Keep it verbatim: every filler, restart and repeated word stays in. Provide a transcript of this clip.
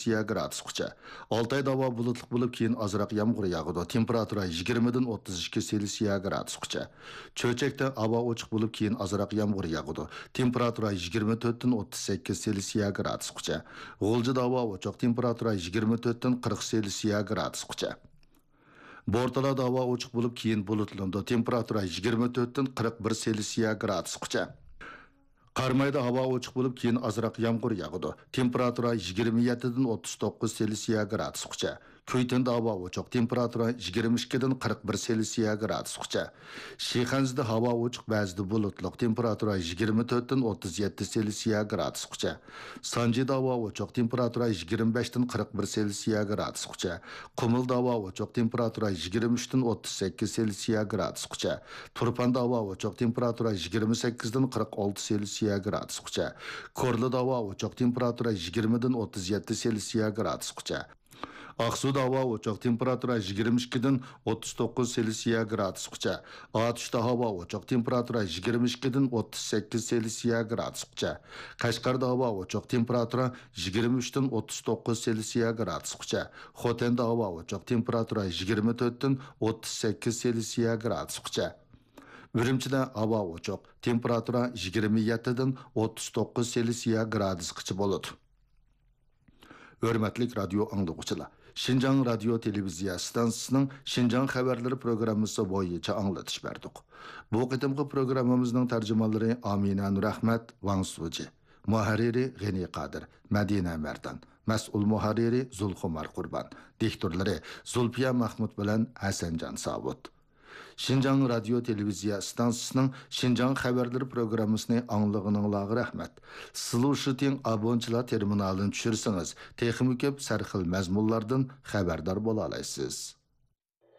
سېلسىيە گرادۇسقىچە. ئالتايدا ھاۋا بۇلۇتلۇق بولۇپ، كېيىن ئازراق يامغۇر ياغىدۇ. تېمپېراتۇرا يىگىرمىدىن ئوتتۇز ئىككى سېلسىيە گرادۇسقىچە. چۆچەكتە ھاۋا ئوچۇق بولۇپ، كېيىن ئازراق يامغۇر ياغىدۇ. تېمپېراتۇرا يىگىرمە تۆتتىن ئوتتۇز سەككىز سېلسىيە گرادۇسقىچە. غۇلجىدا ھاۋا ئوچۇق، تېمپېراتۇرا يىگىرمە تۆتتىن قىرىق سېلسىيە گرادۇسقىچە. بورتالادا ھاۋا ئوچۇق بولۇپ، كېيىن بۇلۇتلىنىدۇ. تېمپېراتۇرا يىگىرمە تۆتتىن قىرىق بىر سېلسىيە گرادۇسقىچە. قارامايدا ھاۋا ئوچۇق بولۇپ، كېيىن ئازراق يامغۇر ياغىدۇ. تېمپېراتۇرا يىگىرمە يەتتىدىن ئوتتۇز توققۇز سېلسىيە گرادۇسقىچە. كۈيتۈندە ھاۋا ئوچۇق، تېمپېراتۇرا يىگىرمە ئىككىدىن قىرىق بىر سېلسىيە گرادۇسقىچە. شىخەنزىدە ھاۋا ئوچۇق، بەزىدە بۇلۇتلۇق، تېمپېراتۇرا يىگىرمە تۆتتىن ئوتتۇز يەتتە سېلسىيە گرادۇسقىچە. سانجىدا ھاۋا ئوچۇق، تېمپېراتۇرا يىگىرمە بەشتىن قىرىق بىر سېلسىيە گرادۇسقىچە. قۇمۇلدا ھاۋا ئوچۇق، تېمپېراتۇرا يىگىرمە ئۈچتىن ئوتتۇز سەككىز سېلسىيە گرادۇسقىچە. تۇرپاندا ھاۋا ئوچۇق، تېمپېراتۇرا يىگىرمە سەككىزدىن قىرىق ئالتە سېلسىيە گرادۇسقىچە. كورلىدا ھاۋا ئوچۇق، تېمپېراتۇرا يىگىرمىدىن ئوتتۇز يەتتە سېلسىيە گرادۇسقىچە. ئاقسۇدا ھاۋا ئوچۇق، تېمپېراتۇرا يىگىرمە ئىككىدىن ئوتتۇز توققۇز سېلسىيە گرادۇسقىچە. ئاتۇشتا ھاۋا ئوچۇق، تېمپېراتۇرا يىگىرمە ئىككىدىن ئوتتۇز سەككىز سېلسىيە گرادۇسقىچە. قەشقەردە ھاۋا ئوچۇق، تېمپېراتۇرا يىگىرمە ئۈچتىن ئوتتۇز توققۇز سېلسىيە گرادۇسقىچە. خوتەندە ھاۋا ئوچۇق، تېمپېراتۇرا يىگىرمە تۆتتىن ئوتتۇز سەككىز سېلسىيە گرادۇسقىچە. ئۈرۈمچىدە ھاۋا ئوچۇق، تېمپېراتۇرا يىگىرمە يەتتىدىن ئوتتۇز توققۇز سېلسىيە گرادۇسقىچە بولىدۇ. ھۆرمەتلىك رادىيو ئاڭلىغۇچىلار، شىنجاڭ رادىيو تېلېۋىزىيە ئىستانسىسىنىڭ شىنجاڭ خەۋەرلىرى پروگراممىسى بويىچە ئاڭلىتىش بەردۇق. بۇ قېتىمقى پروگراممىمىزنىڭ تەرجىمانلىرى ئامىنە نۇرئەخمەت، ۋاڭ سۇجى، مۇھەررىرى غېنى قادىر، مەدىنە مەردان، مەسئۇل مۇھەررىرى زۇلخۇمار قۇربان، دىكتورلىرى زۇلپىيە مەخمۇت بىلەن ھەسەنجان ساۋۇت. شىنجاڭ رادىيو تېلېۋىزىيە ئىستانسىسىنىڭ شىنجاڭ خەۋەرلىرى پروگراممىسىنى ئاڭلىغىنىڭلارغا رەھمەت. سىلۇشىتىڭ ئابونچىلار تېرمىنالىنى چۈشۈرسىڭىز، تېخىمۇ كۆپ سەرخىل مەزمۇنلاردىن خەۋەردار بولالايسىز.